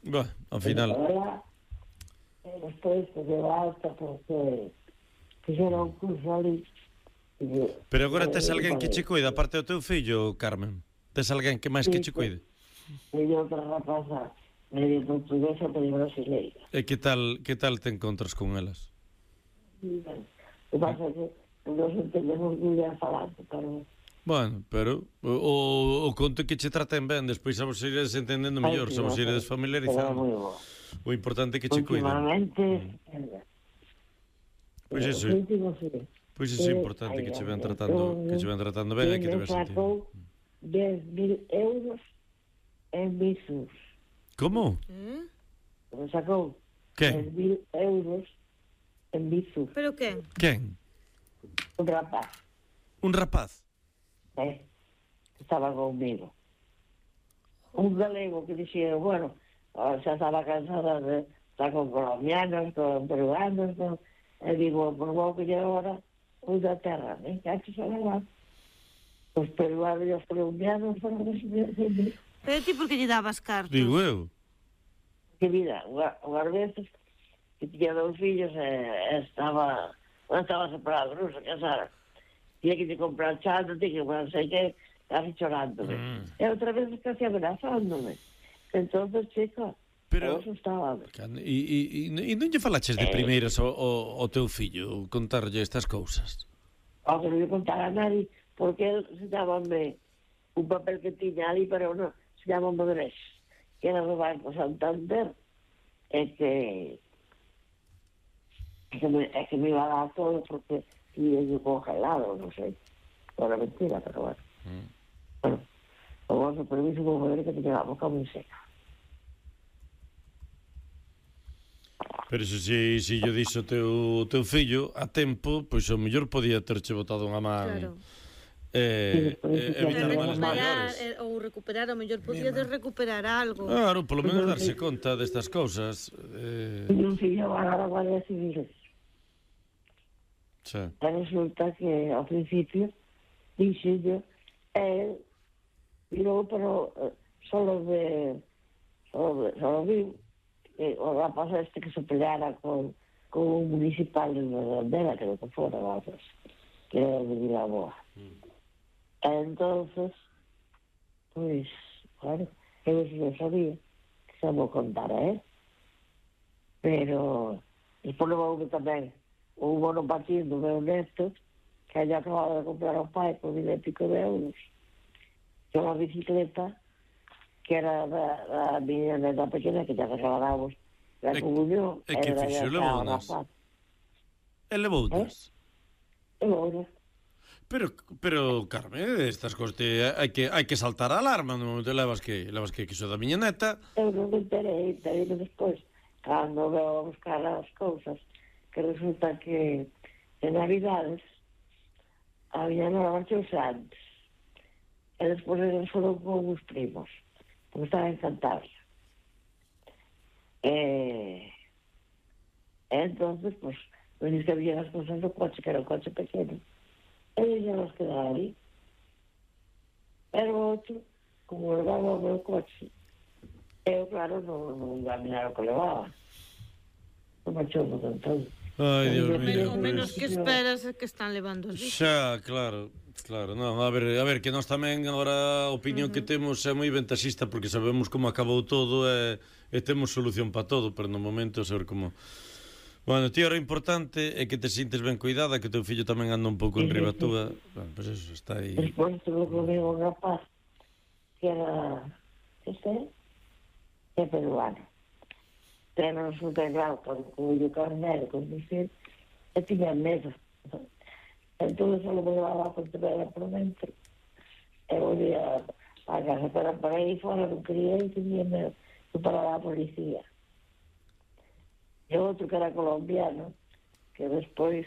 Bueno, ao final. Despois que deu alta porque fixeron un curso ali. Pero agora tes alguén que che cuida, aparte do teu fillo, Carmen? Tes alguén que máis que che cuide? E outra rapaza medio portuguesa, medio brasileira. E que tal te encontras con elas? O que pasa é que non se entendemos moi ben falando, pero... Bueno, pero o conto que che traten ben, despois a vos iredes entendendo mellor, se vos iredes familiarizando. O importante é que che cuiden. Últimamente... Pois iso é. Pois iso é importante, que che ven tratando ben e que te ves sentido. 10.000 euros en visos. Como? Me sacou 10.000 euros en visos. Pero quen? Quen? Un rapaz. Un rapaz? Estaba conmigo. Un galego que dixía, bueno, xa estaba cansada de estar con colombianos, con peruanos, e digo, por vou que lle agora un da terra, que haxe xa levar. Os peruanos e os colombianos foron recibir. Pero ti por que lle dabas cartos? Digo eu. Que mira, unhas veces que tiña 2 fillos non estaba separado, non se casara. Tiña que te comprar chando, tiña que non sei que, casi chorándome. E outra vez casi amenazándome. Entonces, chica, pero eso estaba... E non lle falaches de primeiras ao teu fillo, contarlle estas cousas? Que non lle contara a nadie, porque él se llámame un papel que tiña ali, pero non, se llama Modrés, que era do Banco Santander, e que me iba a dar todo porque iba yo congelado, non sei. Era mentira, pero bueno. Bueno, o vosso permiso vou ver que teña a boca moi seca. Pero se yo dixo o teu fillo a tempo, pois o mellor podía terche botado unha man evitar males maiores. Ou recuperar, o mellor podía recuperar algo. Claro, polo menos darse conta destas cousas. Un fillo va a la Guardia Civil. Resulta que ao principio dixe yo, virou, pero solo viu o rapaz este que se peleara con un municipal de Bandera, creo que fora, que era de Vilaboa. Entonces, pues, claro, eu non sabía que se vou contar a él. Pero, despois levou tamén un monopatín do meu neto, que haya acabado de comprar ao pai por 1.000 e pico de euros. E unha bicicleta que era da miña neta pequena, que ya regalábamos da comunión. E que fixo, levounas? E levounas? Levounas. Pero, Carmen, estas cosas hai que saltar a alarma, non te levas que iso da miña neta. Eu non me enterei despois, cando veo a buscar as cousas, que resulta que en Navidades a miña nova marchouse antes, e despois eles foron con os primos, porque estaba en Cantabria. Entonces, pues, non es que había as cousas do coche, que era un coche pequeno, e ya nos quedaba ali. Pero outro, como levaba o meu coche, eu, claro, non iba a mirar o que levaba. Non marchou no todo. Ai, Dios mío. O menos que esperas é que están levando os bichos. Xa, claro, non, a ver, que nós tamén agora a opinión que temos é moi ventaxista porque sabemos como acabou todo e temos solución para todo, pero no momento saber como... Bueno, tío, era importante é que te sintes ben cuidada, que o teu fillo tamén anda un pouco en riba túa. Bueno, pois eso, está aí. Despois tuve comigo un rapaz que era peruano. Pero resulta claro, con o carnero, conducir, e tiña medo. Entón, só me levaba a Pontevedra por dentro. E volvía a casa, pero para aí fora non quería ir, tiña medo. Eu paraba a policía. E outro que era colombiano, que despois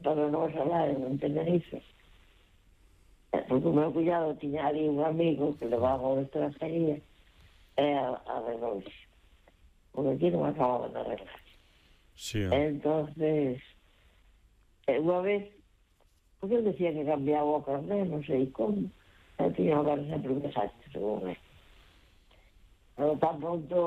para non falar en Tenerife, porque o meu cuñado tiña ali un amigo que levaba a extranjería e arreglouse, porque aquí non acababan de arreglar. Entonces, unha vez, porque ele decía que cambiaba o carné, non sei como, e tiña que dar sempre un desastre, según él. Pero tan pronto